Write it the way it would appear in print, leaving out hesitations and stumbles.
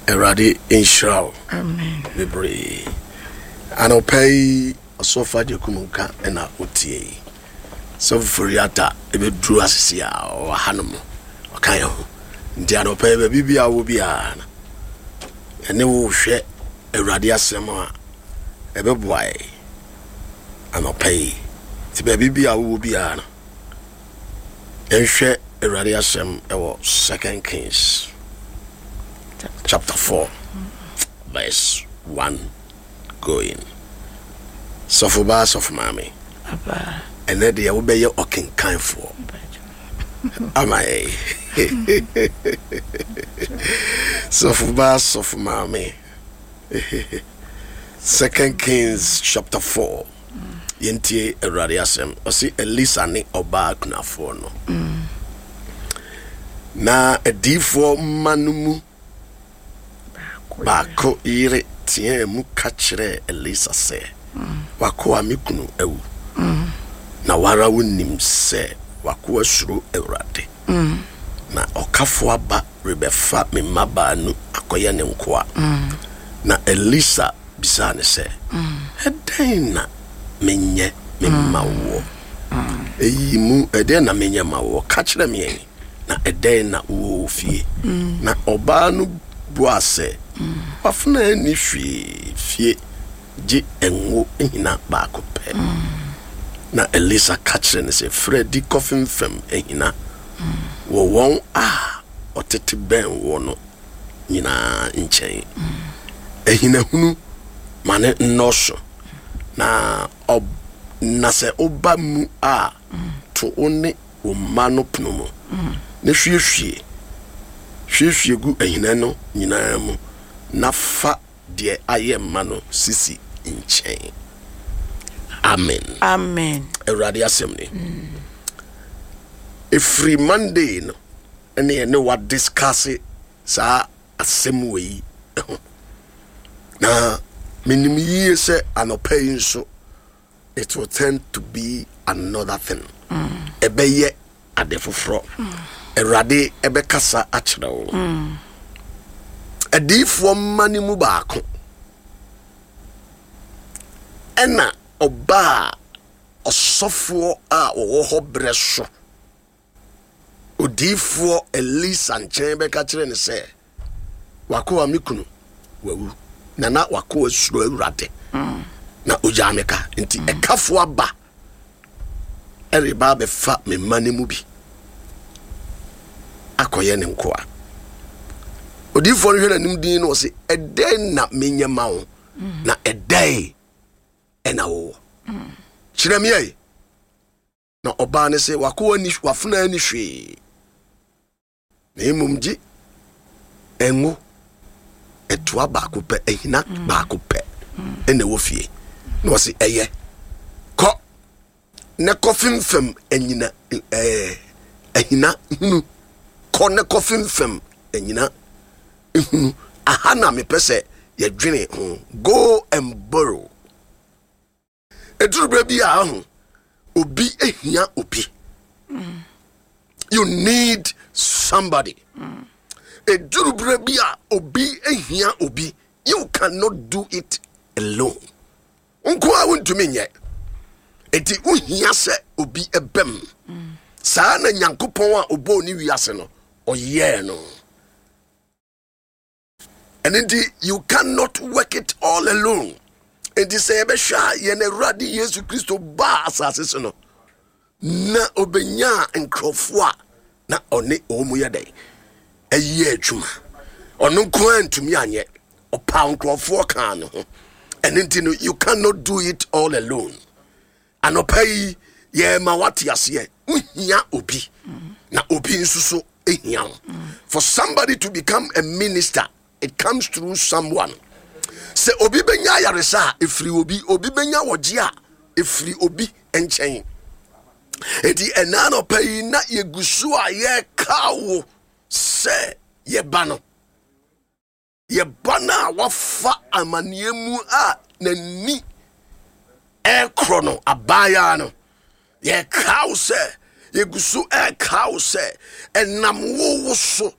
Awurade nhyira wo bebree. Anɔpa yi ɔsɔfo Agyekum nka na wotie yi. Sɔfo Foriata ɛbɛduru asese a ɔwɔ ha no mu ɔka yɛn ho. Nti anɔpa yi baabi bi a wɔ biara no ɛne wo hwɛ Awurade asɛm a ɛbɛboa yɛn anɔpa yi. Nti baabi bi a wowɔ biara no Yɛnhwɛ Awurade asɛm wɔ Second Kings chapter 4 verse 1 going. Sɔfo baa sɔfo maame. Ɛnɛ deɛ wobɛyɛ ɔkenkanfoɔ ama yɛn. Sɔfo baa sɔfo maame. Second Kings chapter 4. Yɛntie Awurade asɛm. Ɔse Elisa ne ɔbaa kunafoɔ no. Na adiyifoɔ mma no mu baako yere teɛɛ mu ka kyerɛɛ Elisa sɛ, W'akoa me kunu awu, na w'ara wonim sɛ w'akoa suro Awurade, na ɔkafo aba rebɛfa me mma baanu akɔyɛ ne nkoa. Na Elisa bisaa no sɛ, Ɛdɛn na menyɛ memma woɔ? Eyi mu, ɛdɛn na menyɛ ma woɔ? Ka kyerɛ me ɛ, na ɛdɛn na wowɔ wɔ fie? Na ɔbaa no buaa sɛ, W'afenaa nni hwee fie gye ngo ahina baako pɛ. Na Elisa ka kyerɛɛ no sɛ, Firi adi kɔfemfam ahina wɔ wɔn a wɔtete bɛn woɔ no nyinaa nkyɛn. Ahinahunu ma no nnɔɔso, na ɔ na sɛ woba mu a, to wo ne wo mma no pono mu, na hwiehwie hwiehwie gu ahina no nyinaa mu, na fa deɛ ayɛ mma no sisi nkyɛn. Amen. Amen. Awurade asɛm ni. Ɛfiri Monday no ɛne ɛne wa discuss saa asɛm wei ho. Na menim yie sɛ anɔpa yi nso it will turn to be another thing. Ɛbɛyɛ ade foforɔ. Awurade ɛbɛkasa akyerɛ wo. Adiyifoɔ mma no mu baako ɛna ɔbaa ɔsɔfoɔ a ɔwɔ hɔ berɛ so odiyifoɔ Elisa nkyɛn bɛka kyerɛ no sɛ, W'akoa me kunu wawu, na na w'akoa suro Awurade, na ogyaa me ka. Nti ɛkafo aba ɛreba abɛfa me mma no mu bi akɔyɛ ne nkoa. Odiyifoɔ no hwɛ n'anim din na ɔse, ɛdɛn na menyɛ ma wo? Na ɛdɛn ɛna wowɔ? Kyerɛ me ɛ. Na ɔbaa no se, W'akoa nni, w'afenaa nni hwee, na mmom gye ngo ɛtoa baako pɛ, ahina mm. baako pɛ ɛna ɛwɔ fie. Na ɔse, ɛyɛ, kɔ na kɔfemfam anyina ɛɛ ahina hunu, kɔ na kɔfemfam anyina hunu. Aha na mepɛ sɛ yɛdwene ho. Go and borrow. Ɛduru berɛ bi a aho obi hia obi. You need somebody. Ɛduru berɛ bi a obi hia obi. You cannot do it alone. Nko a wontumi nyɛ. Enti wohia sɛ obi ɛbɛm. Saa na Nyankopɔn a ɔbɔɔ ne wiase no ɔyɛɛ no. Ɛno nti you cannot work it all alone. Nti sɛ yɛbɛhwɛ a yɛn Awurade Yesu Kristo baa asase so no na ɔbɛnyaa nkurɔfoɔ a na ɔne wɔn mu yɛ dɛn ɛyɛ adwuma. Ɔno nko ara ntumi anyɛ, ɔpaa nkurɔfoɔ kaa ne ho. Ɛno nti no you cannot do it all alone. Anɔpa yi yɛma wate aseɛ wohia obi na obi nso so hia wo. For somebody to become a minister it comes through someone. Sɛ obi bɛnya ayaresa a ɛfiri obi, obi bɛnya wɔgye a ɛfiri obi nkyɛn. Enti ɛna anɔpa yi na yɛgu so a yɛka wo sɛ yɛba no. Yɛba no a wafa amanneɛ mu a n'ani ɛrekorɔ no abaayaa no, yɛkaa wo sɛ, yɛgu so ɛrekaa wo sɛ, ɛnam wo wo so.